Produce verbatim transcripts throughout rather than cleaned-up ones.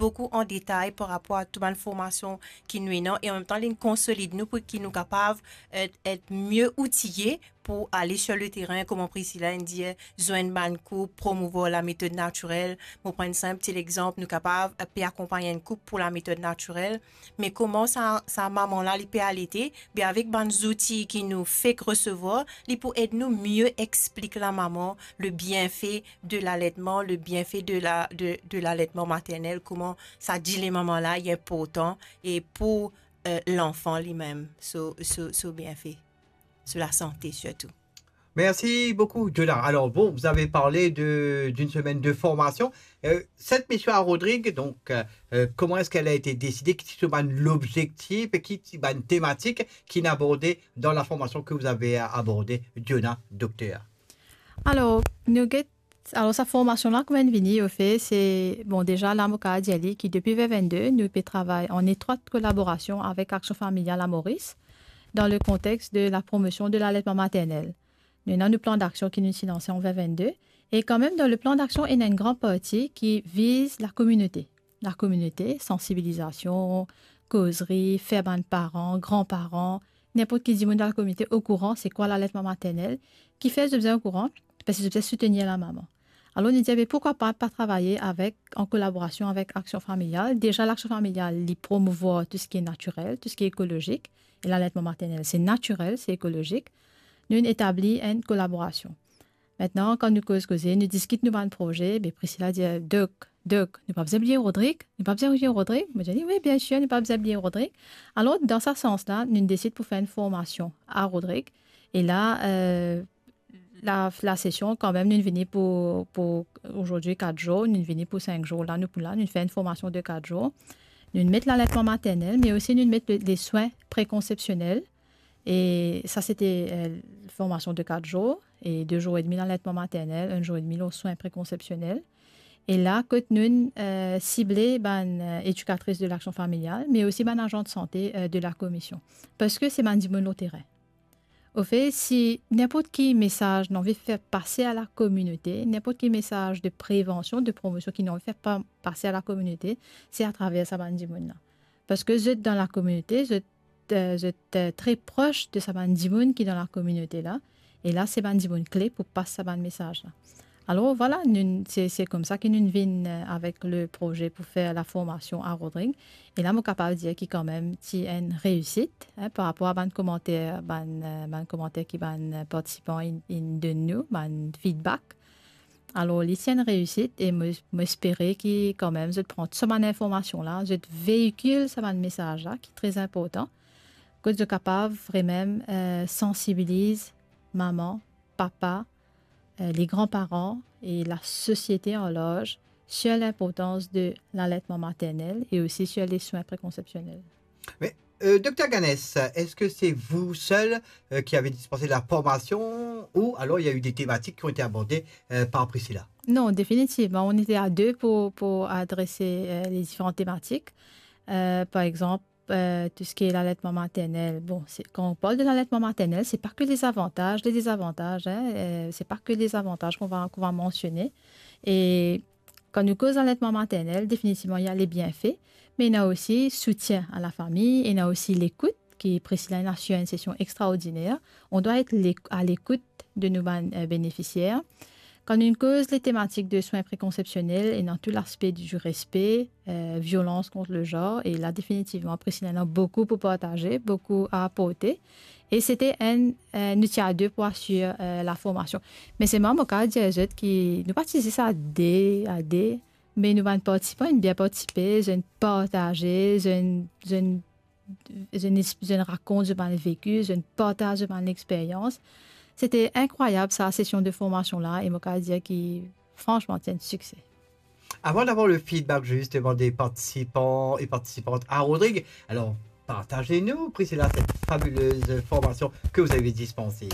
boukou an detay par rapor a tou bann formasion ki nou ena, e an mem tan, li konsolid nou pou ki nou kapav et, et mie outiye pou ale sur le terrain, kouma Priscilla inn dir, zwenn bann koup, promouvwar lametod natirel. Mo pran enn sinp ti lexanp, nou kapav, eh, pe akonpagn enn koup pou lametod natirel, me kouma sa, sa mama la, li pe alete, be avek bann zouti ki nou fek resevwar, li pou ed nou mie explik lamama le bienfe de l'aletman, le bienfe de la, de, de l'aletman maternel, kouma sa dile mama la, li inportan, e pou, eh, lanfan limem, so, so, so bienfe, so lasante sirtou. Merci beaucoup, Jonah. Alors, bon, vous avez parlé de, d'une semaine de formation. Euh, cette mission à Rodrigues, donc, euh, euh, comment est-ce qu'elle a été décidée? Ki ti bann lobzektif e ki ti bann tematik ki inn aborde dan la formation que vous avez abordée, Jonah, docteur? Alor, nou get, alor, sa formasion la, kouma inn vini, anfet, se, bon, deza la, mo kapav dir li ki depi ven vennde, nou pe travay an etrwat kolaborasion avek Aksion Familial a Moris, dan le kontex de la promosion de l'aletman maternel. Nou ena nou plan daksion ki nou ti lanse an ven vennde, e kanmem dan le plan daksion, ena enn gran parti ki viz lakominote. Lakominote, sansibilizasion, kozri, fer bann paran, gran paran, ninport ki dimoun dan lakominote okouran se kwa l'aletman maternel, kifer zot bizin okouran, parski zot bizin soutenir lamama. Alor, nou dir, be, poukwa pa, pa travay avek, an kolaborasion avek Aksion Familial. Deza, Aksion Familial, li promouvwar tou seki natirel, tou seki ekolozik, e l'aletman maternel, se natirel, se ekolozik. Nou etabli enn kolaborasion. Aster, kan nou koz koze, nou diskit nou bann proze, be Priscilla dir, "Dok, Dok, nou pa bizin bliye Rodrig, nou pa bizin bliye Rodrig." Mo dir li, "Wi, biensir, nou pa bizin bliye Rodrig." Alor, dan sa sans la, nou desid pou fer enn formasion a Rodrig. E la, eh, la, la sesion, kanmem, nou vini pou, pou, azordi, kat zour, nou vini pou sink zour. La, nou pou la, nou fer enn formasion de kat zour. Nou met l'aletman maternel, me osi nou met le, le swin prekonsepsionel. E sa, se ti, eh, formasion de kat zour e de zour edmi l'aletman maternel, enn zour edmi lor swin prekonsepsionel. E la, kot nou, eh, sible bann, eh, edikatris de Aksion Familial, me osi bann azan de sante, eh, de lakomision. Parski se bann dimoun lor terin. Anfet, si ninport ki mesaz nou anvi fer pase a lakominote, ninport ki mesaz de prevansion, de promosion ki nou anvi fer pa-, pase a lakominote, se atraver sa bann dimoun la. Parski zot dan lakominote, zot, eh, zot, eh, tre pros de sa bann dimoun ki dan lakominote la, e la, se bann dimoun kle pou pas sa bann mesaz la. Alor, vwala, nou, se, se koumsa ki nou vinn, eh, avek le proze pou fer la formasion a Rodrig. E la, mo kapav dir ki kanmem, ti enn reisit, en, par rapor a bann komanter, bann, eh, bann komanter ki bann, eh, partisipan inn, inn donn nou, bann feedback. Alor, li ti enn reisit e mo, mo espere ki kanmem, zot pran tou sa bann informasion la, zot veikil sa bann mesaz la, ki tre inportan, kot zot kapav vremem, eh, sansibiliz mama, papa, eh, les grands-parents et la société en large sur l'importance de l'allaitement maternel et aussi sur les soins préconceptionnels. Mais, euh, Docteur Ganès, est-ce que c'est vous seul, euh, qui avez dispensé la formation ou alors il y a eu des thématiques qui ont été abordées, euh, par Priscilla ? Non, définitivement. On était à deux pour, pour adresser, euh, les différentes thématiques. Euh, par exemple, euh, tout ce qui est l'allaitement maternel. Bon, c'est, quand on parle de l'allaitement maternel, c'est pas que les avantages, les désavantages, hein, euh, c'est pas que les avantages qu'on va, qu'on va mentionner. Et quand nou koz l'aletman maternel, definitivman, ena le bienfe, me ena osi soutien a lafami, ena osi lekout, ki Priscilla inn asir enn sesion extraordiner. On doit être l'éc-, à l'écoute de nou bann, euh, benefisier. Kan nou koz le tematik de soins préconceptionnels, ena tou laspe du respect, euh, violans kont le zanr, e la, definitivman, Priscilla ena boukou pou partaze, boukou a aporte. E se ti enn, euh, nou ti a de pou asir, euh, la formasion. Me selman, mo kapav dir zot ki nou pa ti zis a de, a de, me nou bann partisipan inn bien partisipe, zot inn partaze, zot inn, zot inn, zot inn es-, zot inn rakont zot bann veki, zot inn partaz zot bann lexperyans. Se ti inkrwayab, sa sesion de formasion la, e mo kapav dir ki, fransman, ti enn sikse. Avant d'avoir le feedback justement des participants et participantes à Rodrig, alors partagez-nous, Priscilla, cette fabuleuse formation que vous avez dispensée.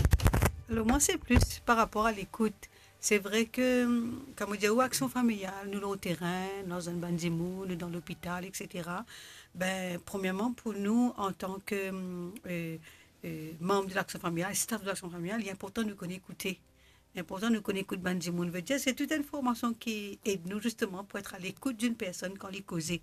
Alors moi, c'est plus par rapport à l'écoute. Se vre ke, hum, kan mo dir ou Aksion Familial, nou lor terin, nou dan enn bann dimoun, nou dan lopital, et cetera. Ben, premierman, pou nou, antan ke, hum, euh, euh, manm de Aksion Familial, staff de Aksion Familial, li inportan nou konn ekoute. Inportan nou konn ekout bann dimoun. Vedir, se tou enn formasion ki ed nou, zisteman, pou et a lekout enn personn kan li koze.